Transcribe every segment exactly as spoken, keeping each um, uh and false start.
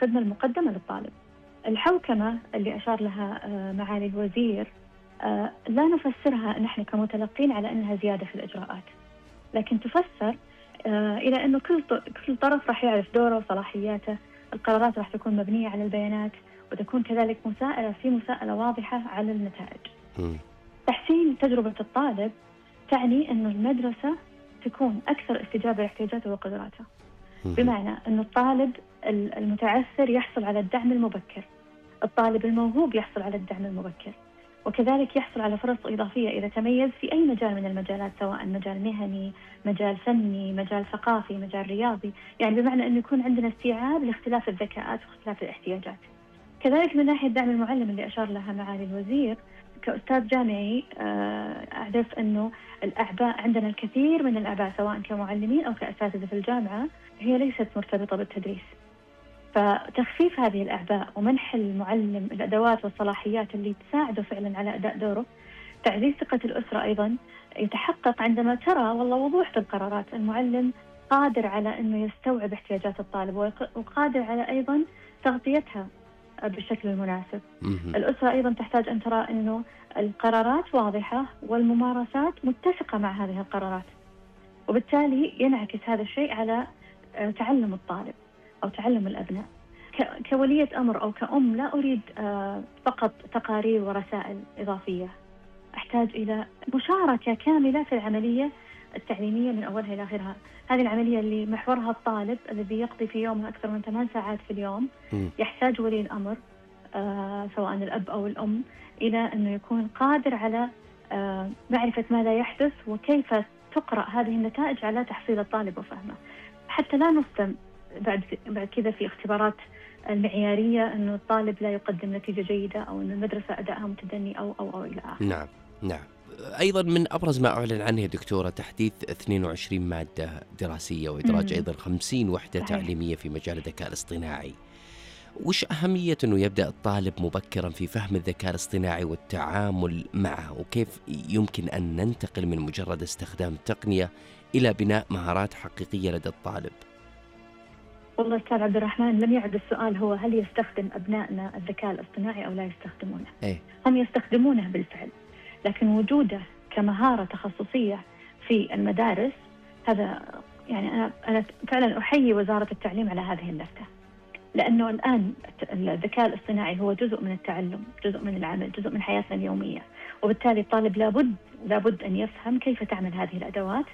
الخدمة المقدمة للطالب. الحوكمة اللي أشار لها معالي الوزير لا نفسرها نحن كمتلقين على أنها زيادة في الإجراءات، لكن تفسر إلى أنه كل كل طرف راح يعرف دوره وصلاحياته. القرارات راح تكون مبنية على البيانات، وتكون كذلك مساءلة في مساءلة واضحة على النتائج. م. تحسين تجربة الطالب تعني أنه المدرسة تكون أكثر استجابة لاحتياجاته وقدراته، بمعنى أن الطالب المتعثر يحصل على الدعم المبكر، الطالب الموهوب يحصل على الدعم المبكر، وكذلك يحصل على فرص إضافية إذا تميز في أي مجال من المجالات، سواء مجال مهني، مجال فني، مجال ثقافي، مجال رياضي، يعني بمعنى أن يكون عندنا استيعاب لاختلاف الذكاءات واختلاف الاحتياجات. كذلك من ناحية دعم المعلم اللي أشار لها معالي الوزير، كأستاذ جامعي أعرف أنه الأعباء عندنا الكثير من الأعباء سواء كمعلمين أو كأساتذة في الجامعة هي ليست مرتبطة بالتدريس، فتخفيف هذه الأعباء ومنح المعلم الأدوات والصلاحيات اللي تساعده فعلا على أداء دوره. تعزيز ثقة الأسرة أيضا يتحقق عندما ترى والله وضوح في القرارات، المعلم قادر على أنه يستوعب احتياجات الطالب وقادر على أيضا تغطيتها بالشكل المناسب. الأسرة أيضا تحتاج أن ترى أنه القرارات واضحة والممارسات متسقة مع هذه القرارات، وبالتالي ينعكس هذا الشيء على تعلم الطالب أو تعلم الأبناء. كولية أمر أو كأم لا أريد فقط تقارير ورسائل إضافية، أحتاج إلى مشاركة كاملة في العملية التعليمية من أولها إلى آخرها. هذه العملية اللي محورها الطالب الذي يقضي في يومه أكثر من ثمان ساعات في اليوم، يحتاج ولي الأمر آه سواء الأب أو الأم إلى أنه يكون قادر على آه معرفة ماذا يحدث وكيف تقرأ هذه النتائج على تحصيل الطالب وفهمه، حتى لا نصدم بعد بعد كذا في اختبارات المعيارية أنه الطالب لا يقدم نتيجة جيدة أو أن المدرسة أدائها متدني أو أو أو إلى آخره. نعم نعم. أيضا من أبرز ما أعلن عنه يا دكتورة تحديث اثنين وعشرين مادة دراسية وإدراج مم. أيضا خمسين وحدة صحيح. تعليمية في مجال الذكاء الاصطناعي. وش أهمية أنه يبدأ الطالب مبكرا في فهم الذكاء الاصطناعي والتعامل معه، وكيف يمكن أن ننتقل من مجرد استخدام التقنية إلى بناء مهارات حقيقية لدى الطالب؟ والله أستاذ عبد الرحمن، لم يعد السؤال هو هل يستخدم أبنائنا الذكاء الاصطناعي أو لا يستخدمونه. إيه؟ هم يستخدمونه بالفعل، لكن وجوده كمهارة تخصصية في المدارس هذا يعني أنا أنا فعلا أحيي وزارة التعليم على هذه اللفتة، لأنه الآن الذكاء الاصطناعي هو جزء من التعلم، جزء من العمل، جزء من حياتنا اليومية، وبالتالي الطالب لابد لابد أن يفهم كيف تعمل هذه الأدوات،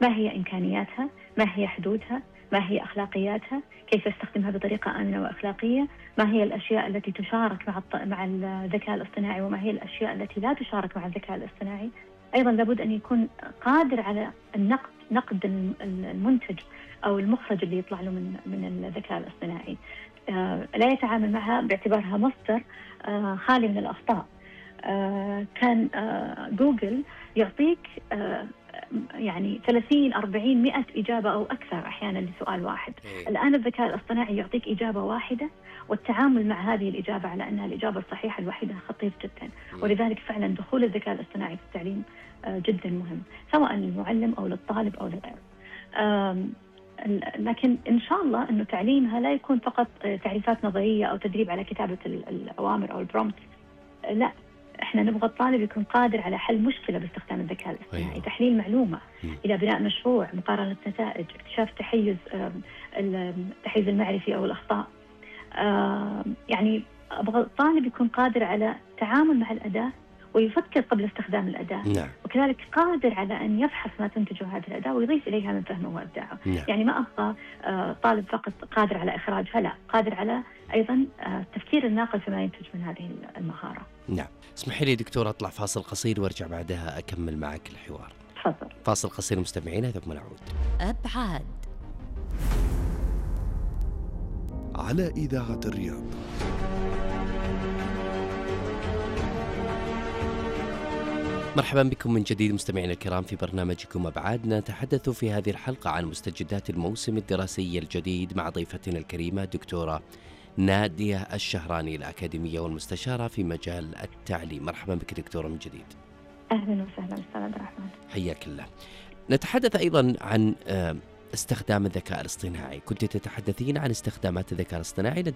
ما هي إمكانياتها، ما هي حدودها، ما هي أخلاقياتها، كيف يستخدمها بطريقة آمنة وأخلاقية، ما هي الأشياء التي تشارك مع مع الذكاء الاصطناعي وما هي الأشياء التي لا تشارك مع الذكاء الاصطناعي. أيضا لابد أن يكون قادر على النقد نقد المنتج أو المخرج اللي يطلع له من من الذكاء الاصطناعي، آه لا يتعامل معها باعتبارها مصدر آه خالي من الأخطاء. آه كان آه جوجل يعطيك آه يعني ثلاثين أربعين مئة إجابة أو أكثر أحيانا لسؤال واحد. إيه. الآن الذكاء الاصطناعي يعطيك إجابة واحدة، والتعامل مع هذه الإجابة على أنها الإجابة الصحيحة الوحيدة خطير جدا. م. ولذلك فعلا دخول الذكاء الاصطناعي في التعليم جدا مهم، سواء للمعلم أو للطالب أو لغيره. لكن إن شاء الله أنه تعليمها لا يكون فقط تعريفات نظرية أو تدريب على كتابة الأوامر أو البرومبت، لا، احنا نبغى الطالب يكون قادر على حل مشكلة باستخدام الذكاء الاصطناعي. أيوة. تحليل معلومة م. إلى بناء مشروع، مقارنة نتائج، اكتشاف تحيز التحيز المعرفي أو الأخطاء. يعني أبغى الطالب يكون قادر على التعامل مع الأداة ويفكر قبل استخدام الأداة. نعم. وكذلك قادر على أن يفحص ما تنتجه هذه الأداة ويضيف إليها من فهمه وإبداعه. نعم. يعني ما أبغى طالب فقط قادر على إخراجها، لا، قادر على أيضا تفكير الناقل فيما ينتج من هذه المهارة. نعم. اسمحي لي دكتور أطلع فاصل قصير وارجع بعدها أكمل معك الحوار. تفضل. فاصل قصير مستمعينا ثم نعود. أبعاد على إذاعة الرياض. مرحبا بكم من جديد مستمعينا الكرام في برنامجكم أبعاد. نتحدث في هذه الحلقة عن مستجدات الموسم الدراسي الجديد مع ضيفتنا الكريمة دكتورة نادية الشهراني، الأكاديمية والمستشارة في مجال التعليم. مرحبا بك دكتورة من جديد. أهلا وسهلا أستاذ عبد الرحمن. حياك الله. نتحدث أيضا عن استخدام الذكاء الاصطناعي. كنت تتحدثين عن استخدامات الذكاء الاصطناعي لدى